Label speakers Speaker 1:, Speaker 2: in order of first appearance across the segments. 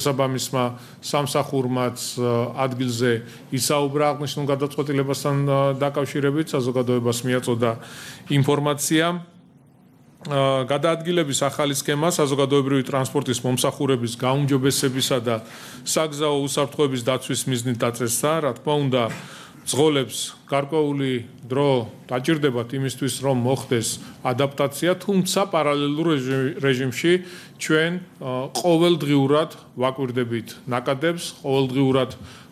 Speaker 1: საბამისმა სამსახურმაც ადგილზე ისაუბრა აღნიშნულ გადაწყვეტილებასთან დაკავშირებით, საზოგადოებას მიაწოდა ინფორმაცია. გადაადგილების ახალი სქემა საზოგადოებრივი ტრანსპორტის მომსახურების გაუმჯობესებისა და საგზაო უსაფრთხოების დაცვის მიზნით დაწესდა, რა თქმა უნდა, ძღოლებს გარკვეული დრო დაჭირდებათ იმისთვის, რომ მოხდეს ადაპტაცია, თუმცა პარალელურ რეჟიმში ჩვენ ყოველდღიურად ვაკვირდებით ნაკადებს, ყოველდღიურად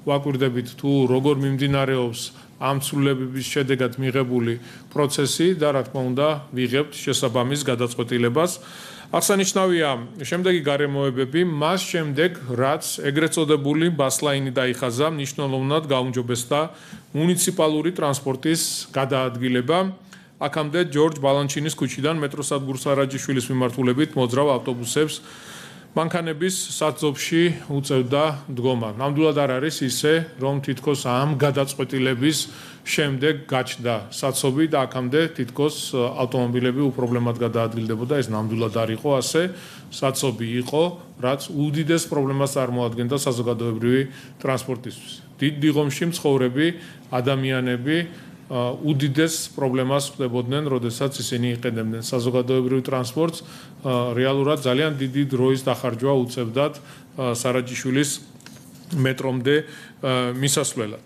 Speaker 1: ვაკვირდებით თუ როგორ მიმდინარეობს ამ ცვლილებების შედეგად მიღებული პროცესი და რა თქმა უნდა ვიღებთ შესაბამის გადაწყვეტილებას. აღსანიშნავია შემდეგი გარემოებები, მას შემდეგ რაც ეგრეთ წოდებული ბასლაინი დაიხაზა, მნიშვნელოვნად გაუმჯობესდა მუნიციპალური ტრანსპორტის გადაადგილება. აქამდე ჯორჯ ბალანჩინის ქუჩიდან მეტროსადგურ სარაჯიშვილის მიმართულებით მოძრავ ავტობუსებს მანქანების საწობში უწევდა დგომა. ნამდვილად არ არის ისე, რომ თითქოს ამ გადაწყვეტილების შემდეგ გაჩნდა საწობი და აქამდე თითქოს ავტომობილები უპრობლემად გადაადგილდებოდა. ეს ნამდვილად არ იყო ასე. საწობი იყო, რაც უდიდეს პრობლემას წარმოადგენდა საზოგადოებრივი ტრანსპორტისთვის. დიდ დიღომში მცხოვრები ადამიანები უდიდეს პრობლემას ხვდებოდნენ, როდესაც ისინი იყენებდნენ საზოგადოებრივ ტრანსპორტს, რეალურად ძალიან დიდი დროის დახარჯვა უწევდათ სარაჯიშვილის მეტრომდე მისასვლელად.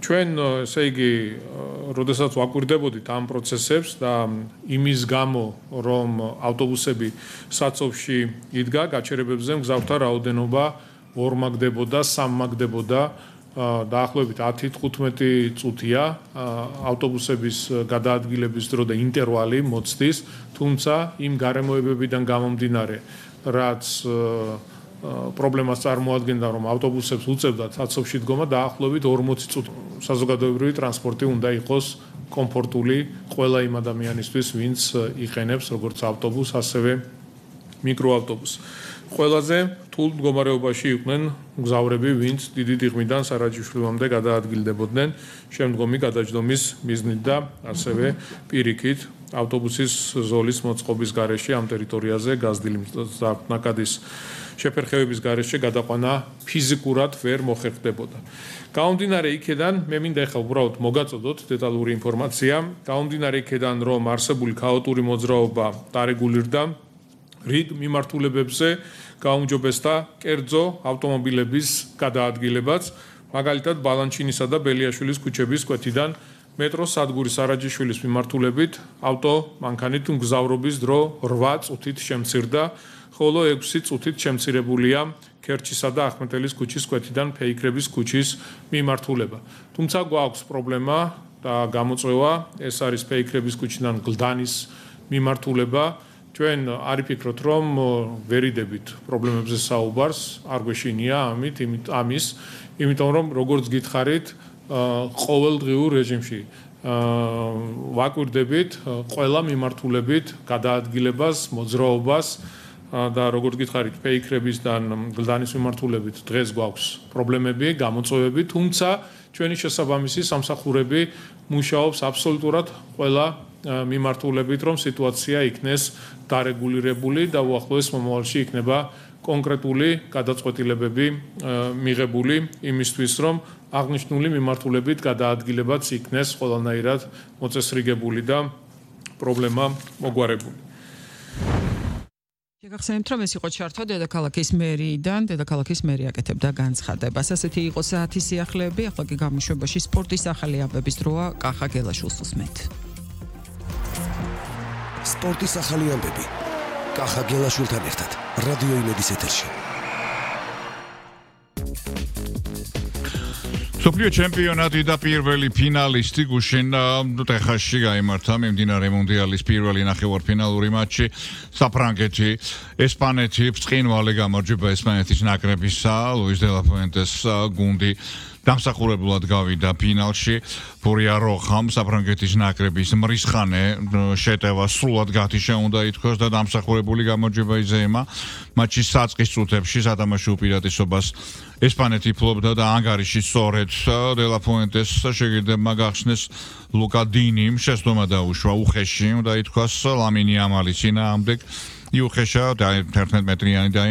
Speaker 1: ჩვენ, ესე იგი, როდესაც ვაკვირდებოდით ამ პროცესებს და იმის გამო, რომ ავტობუსები საწობში იდგა, გაჩერებებზე მგზავრთა რაოდენობა ორმაგდებოდა, სამმაგდებოდა. დაახლოებით 10-15 წუთია ავტობუსების გადაადგილების დრო და ინტერვალი მოცდის, თუმცა იმ გარემოებებიდან გამომდინარე, რაც პრობლემას წარმოადგენდა, რომ ავტობუსებს უწევდათ საწობში დგომა, დაახლოებით 40 წუთი საზოგადოებრივი ტრანსპორტი უნდა იყოს კომფორტული ყველა იმ ადამიანისთვის, ვინც იყენებს როგორც ავტობუსს, ასევე მიკროავტობუსს. ყველაზე რთულ მდგომარეობაში იყვნენ მგზავრები, ვინც დიდი დიღმიდან სარაჯიშვილამდე გადაადგილდებოდნენ შემდგომი გადაჯდომის მიზნით და ასევე პირიქით ავტობუსის ზოლის მოწყობის გარეშე ამ ტერიტორიაზე გაზრდილი ნაკადის შეფერხებების გარეშე გადაყვანა ფიზიკურად ვერ მოხერხდებოდა. გამომდინარე იქედან, მე მინდა ახლა უბრალოდ მოგაწოდოთ დეტალური ინფორმაცია, გამომდინარე იქედან, რომ არსებული ქაოტური მოძრაობა დარეგულირდა, რიგ მიმართულებებზე გაუმჯობესდა კერძო ავტომობილების გადაადგილებაც, მაგალითად ბალანჩინისა და ბელიაშვილის ქუჩების კვეთიდან მეტროს სადგურის სარაჯიშვილის მიმართულებით ავტომანქანით მგზავრობის დრო 8 წუთით შემცირდა, ხოლო 6 წუთით შემცირებულია ქერჩისა და ახმეტელის ქუჩის კვეთიდან ფეიქრების ქუჩის მიმართულება. თუმცა გვაქვს პრობლემა და გამოწვევა, ეს არის ფეიქრების ქუჩიდან გლდანის მიმართულება. ჩვენ არ ვფიქრობთ, რომ ვერიდებით პრობლემებზე საუბარს, არ გვეშინია ამის, იმიტომ რომ როგორც გითხარით, ყოველდღიურ რეჟიმში ვაკვირდებით ყველა მიმართულებით გადაადგილებას, მოძრაობას და როგორც გითხარით, ფეიქრებისგან გლდანის მიმართულებით დღეს გვაქვს პრობლემები, გამოწვევები, თუმცა ჩვენი შესაბამისი სამსახურები მუშაობს აბსოლუტურად ყველა მიმართულებით, რომ სიტუაცია იქნეს დარეგულირებული და უახლოეს მომავალში იქნება კონკრეტული გადაწყვეტილებები მიღებული იმისთვის, რომ აღნიშნული მიმართულებით გადაადგილებაც იქნეს ყველანაირად მოწესრიგებული და პრობლემა მოგვარებული.
Speaker 2: შეგახსენებთ, რომ ეს იყო ჩართვა დედაქალაქის მერიიდან, დედაქალაქის მერი აკეთებდა განცხადებას. ასეთი იყო საათის სიახლეები, ახლა კი გამოშვებაში სპორტის ახალი ამბების დროა, კახა გელაშვილს უსმენთ.
Speaker 3: სპორტის ახალი ამბები. კახა გელაშვილთან ერთად რადიო იმედის ეთერში.
Speaker 4: მსოფლიო ჩემპიონატი და პირველი ფინალისტი გუშინ ტეხასში გაიმართა მიმდინარე მუნდიალის პირველი ნახევარფინალური მატჩი საფრანგეთი ესპანეთი ბრწყინვალე გამარჯვება ესპანეთის ნაკრებისა ლუის დე ლა ფუენტეს გუნდი დამსახურებულად გავიდა ფინალში ფურია როხამ საფრანგეთის ნაკრების მრისხანე შეტევა სრულად გათიშა უნდა ითქვას და დამსახურებული გამარჯვება იზეიმა მატჩის საწყის წუთებში სათამაშო უპირატესობას ესპანეთი ფლობდა და ანგარიში სწორედ დე ლა ფუენტეს შეგირდებმა გახსნეს ლუკა დინიმ შეცდომა დაუშვა უხეში უნდა ითქვას ლამინი ამალის წინააღმდეგ იუხეშა და 11 მეტრიანი